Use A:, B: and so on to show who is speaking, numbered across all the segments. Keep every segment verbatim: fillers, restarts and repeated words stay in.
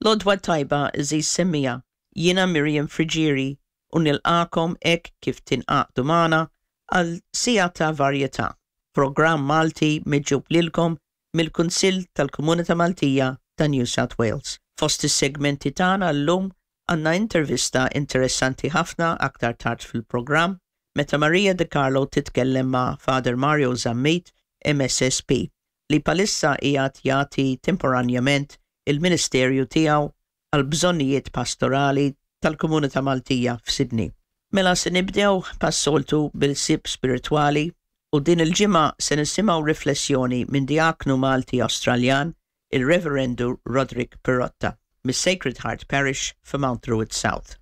A: L-għodwa t-tajba, għeżież semmiegħa, jiena Miriam Friggieri u nilqagħkom hekk kif tingħaqdu magħna għal Siegħa ta' Varjetà, programm Malti miġjub lilkom mill-Kunsill tal-Komunità Maltija ta' New South Wales. Fost is-segmenti tagħna llum għandna intervista interessanti ħafna aktar tard fil-programm meta Maria De Carlo titkellem ma' Father Mario Zammit, M S S P, li bħalissa qiegħed jagħti temporanjament il-ministerju tiegħu għal bżonnijiet pastorali tal-komunità Maltija f'Sydney. Mela se nibdew bħas-soltu bil-ħsieb spiritwali u din il-ġimgħa se nisimgħu riflessjoni minn diaknu Malti Australjan, il-Reverendu Roderick Pirotta, mis-Sacred Heart Parish f'Mount Druitt South.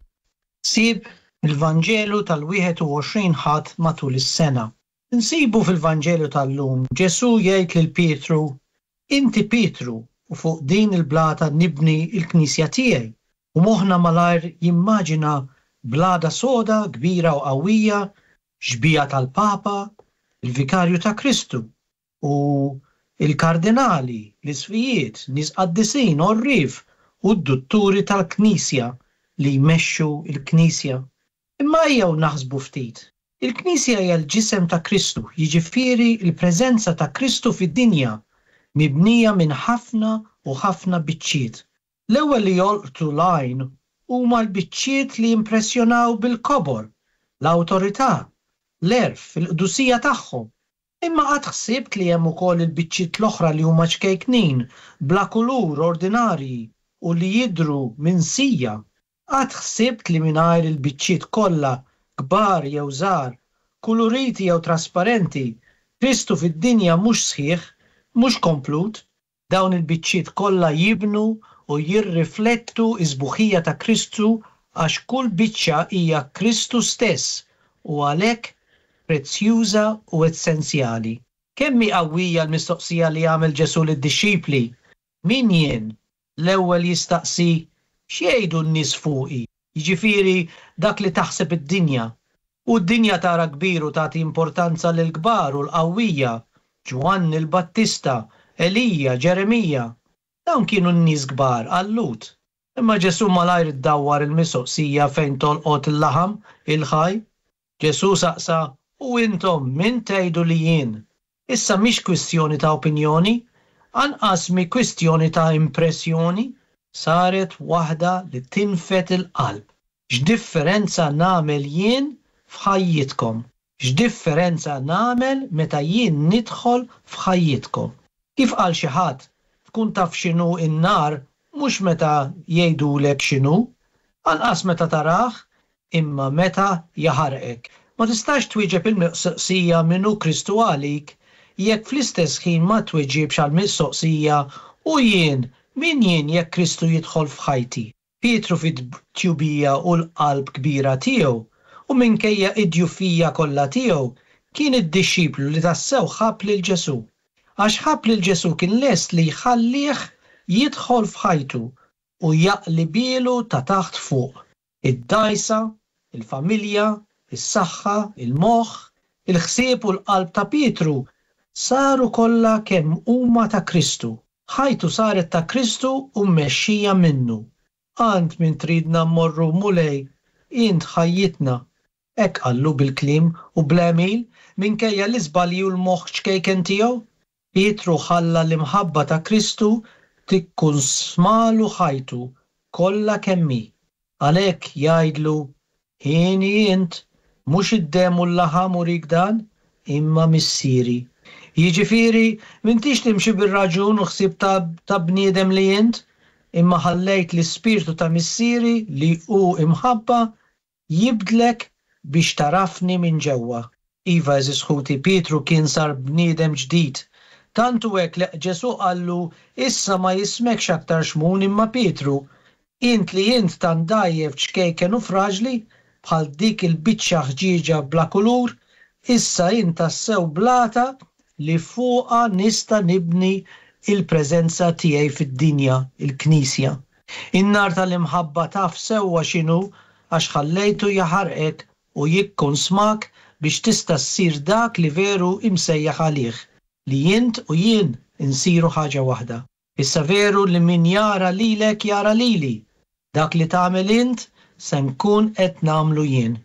B: Ħsieb il-Vanġelu tal-wieħed u għoxrin Ħadd matul is-sena. Nsibu fil-Vanġelu tal-lum Ġesu jgħid lil Pietru, "Inti Pietru u fuq din il-blata nibni il-knisja tiegħi." U moħħna malajr jimmaġina blata soda, kbira u qawwija, xbieha tal-Papa, il-Vikarju ta' Kristu u il-kardinali, l-isqfijiet, nies qaddisin, għorrief u d-dutturi tal-Knisja li jmexxu il-Knisja. Imma ejjew naħsbu ftit. Il-Knisja hija l-ġisem ta' Kristu, jiġifieri il-preżenza ta' Kristu fid-dinja, mibnija minn ħafna u ħafna biċċiet. L-ewwel li jolqtu l-għajn huma l-biċċiet li impressjonaw bil-kobor, l-awtorità, l-għerf, il-qdusija tagħhom. Imma qatt ħsibt li hemm ukoll il-biċċiet l-oħra li huma ċkejknin, bla kulur, ordinarji u li jidhru minsija? Qatt ħsibt li mingħajr il-biċċiet kollha, kbar jew żgħar, kuluriti jew trasparenti, Kristu fid-dinja mhux sħiħ, mhux komplut? Dawn il-biċċiet kollha jibnu u jirriflettu is-sbuħija ta' Kristu għax kull biċċa hija Kristu stess u għalhekk prezzjuża u essenzjali. Kemm hi qawwija l-mistoqsija li għamel Ġesu lid-dixxipli? "Min jien?" L-ewwel jistaqsi, "X'jgħidu n-nies fuqi?" Jiġifieri dak li taħseb id-dinja. U d-dinja tara kbir u tagħti importanza lil kbar u l-qawwija, Ġwanni l-Battista, Elija, Ġeremija. Dawn kienu n-nies kbar għal-Lhud. Imma Ġesu malajr iddawwar il-mistoqsija fejn tolqot il-laħam il-ħaj. Ġesu saqsa, "U intom min tgħidu li jien?" Issa mhix kwistjoni ta' opinjoni, anqas mi kwistjoni ta' impressjoni, saret waħda li tinfed il-qalb. X'differenza nagħmel jien f'ħajjitkom? X'differenza nagħmel meta jien nidħol f'ħajjitkom? Kif qal xi ħadd, tkun taf x'inhu n-nar mhux meta jgħidulek x'inhu, anqas meta tarah, imma meta jaħarqek. Ma tistax twieġeb il-mistoqsija "Min hu Kristu għalik?" jekk fl-istess ħin ma twieġibx għal mistoqsija "U jien, min jien jekk Kristu jidħol f'ħajti?" Pietru fit-tjubija u l-qalb kbira tiegħu u minkejja id-djufija kollha tiegħu kien id-dixxiplu li tassew ħabb lil Ġesu. Għax ħabb lil Ġesu kien lest li jħallih jidħol f'ħajtu u jaqlibhielu ta' taħt fuq. Id-dgħajsa, il-familja, is-saħħa, il-moħħ, il-ħsieb u l-qalb ta' Pietru saru kollha kemm huma ta' Kristu. Ħajtu saret ta' Kristu u mmexxija minnu. "Għand min tridna mmorru, Mulej? Int ħajjitna." Hekk qallu bil-kliem u bl-għemil minkejja l-iżbalji u l-moħħ ċkejken tiegħu. Pietru ħalla l-imħabba ta' Kristu tikkunsmalu ħajtu kollha kemm hi. Għalhekk jgħidlu, "Hieni int, mhux id-demm u l-laħam urik dan, imma Missieri." Jiġifieri, m'intix timxi bir-raġun u ħsieb ta', ta bniedem li int, imma ħallejt l-ispirtu ta' Missieri li hu imħabba jibdlek biex tagħrafni minn ġewwa. Iva, għeżież ħuti, Pietru kien sar bniedem ġdid. Tant hu hekk li Ġesu qallu, "Issa ma jismekx aktar Xmun imma Pietru, int li int tant dgħajjef, ċkejken u fraġli, bħal dik il-biċċa ħġieġa bla kulur, issa int tassew blata li fuqha nista' nibni il-preżenza tiegħi fid-dinja, il-Knisja. In-nar tal-imħabba taf sewwa x'inhu għax ħallejtu jaħarqek u jikkonsmak biex tista' ssir dak li veru imsejjaħ għalih, li int u jien insiru ħaġa waħda. Issa veru li min jara lilek jara lili. Dak li tagħmel int se nkun qed nagħmlu jien.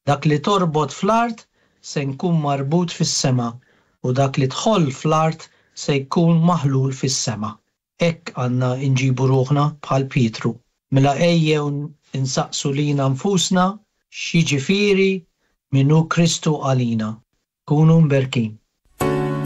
B: Dak li torbot fl-art se nkun marbut fis-sema u dak li tħoll fl-art se jkun maħlul fis-sema. Hekk għandna nġibu ruħna bħal Pietru. Mela ejjew insaqsu lilna nfusna x'jiġifieri min hu Kristu għalina. Kunu mberkin.